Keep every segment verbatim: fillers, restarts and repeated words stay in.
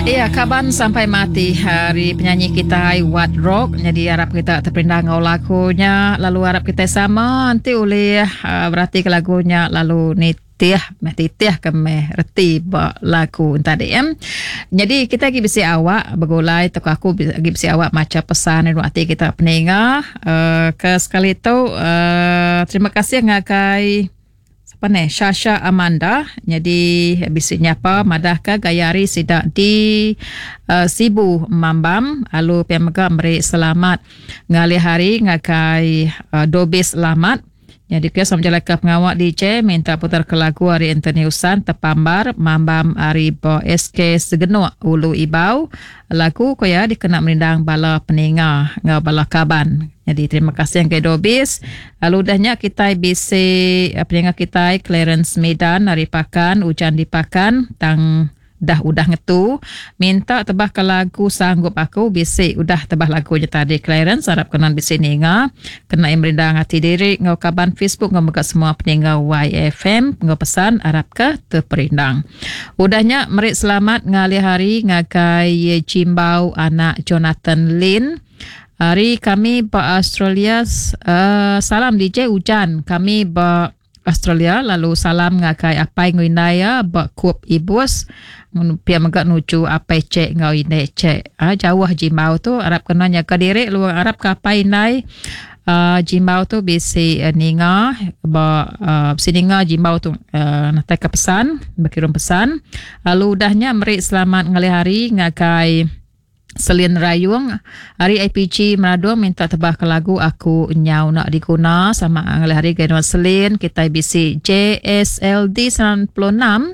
Ya, kaban sampai mati hari penyanyi kita Wat Rock. Jadi harap kita terperindang ngau lagunya, lalu harap kita sama nanti oleh uh, berarti ke lagunya lalu nitih meh titih ke meh reti ba lagu tadi em. Jadi kita lagi bisi awak begulai tok aku lagi bisi awak maca pesan dari hati kita peninga uh, ke sekali tu uh, terima kasih ngagai apa ni Shasha Amanda. Jadi bisi nyapa madah ke gaya hari sidak di uh, Sibu Mambam lalu pia mega meri selamat ngalih hari ngagai uh, Dobis Selamat. Jadi kia sama jalan ke pengawak D J minta putar ke lagu hari Anthony Usan Tepambar Mambam hari Bo S K Segenuk Ulu Ibau lagu koya dikena merindang bala peninga ngau bala kaban. Jadi terima kasih yang ke Dobis. Lalu udahnya kita bisi peninga kita Clarence Medan hari Pakan hujan di Pakan tang dah udah ngetu minta tebah ke lagu sanggup aku bisi udah tebah lagunya tadi Clarence harap kenan bisi ninga kena merindang hati diri ngau kaban Facebook ngau mega semua peninga Y F M ngau pesan harap ke terperindang. Udahnya merik selamat ngalih hari ngagai Jimbau anak Jonathan Lin. Hari kami ba Australia uh, salam D J hujan kami ba Australia lalu salam ngagai apai nguindaya ba kup ibus pia mega nuju apai cek ngau indai cek. Ha, jauh Jimbau tu harap kena jaga diri lu harap ke apai indai uh, Jimbau tu bisi uh, ninga ba uh, bisi ninga Jimbau tu uh, natai ke pesan berkirim pesan lalu udahnya meri selamat ngalih hari ngagai Selin Rayung hari I P G Meradung minta tebah ke lagu aku nyau nak diguna sama ngalih hari gaduan Selin kita bisi J S L D sembilan puluh enam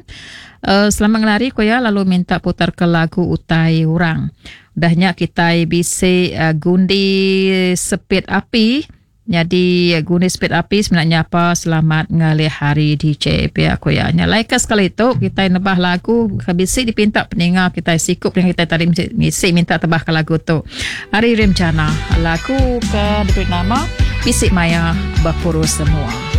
uh, selamat ngalih hari koya lalu minta putar ke lagu utai urang. Udahnya kita bisi uh, gundi sepit api. Jadi gundi sepit api sebenarnya apa selamat ngalih hari D J pihak koya. Nyalai ke sekali tu kita nebah lagu bisi dipinta peninga kita sikup yang kita tadi misi minta tebah ke lagu tu. Hari Rimcana lagu ke diberi nama Bisik Maya Berpuru Semua.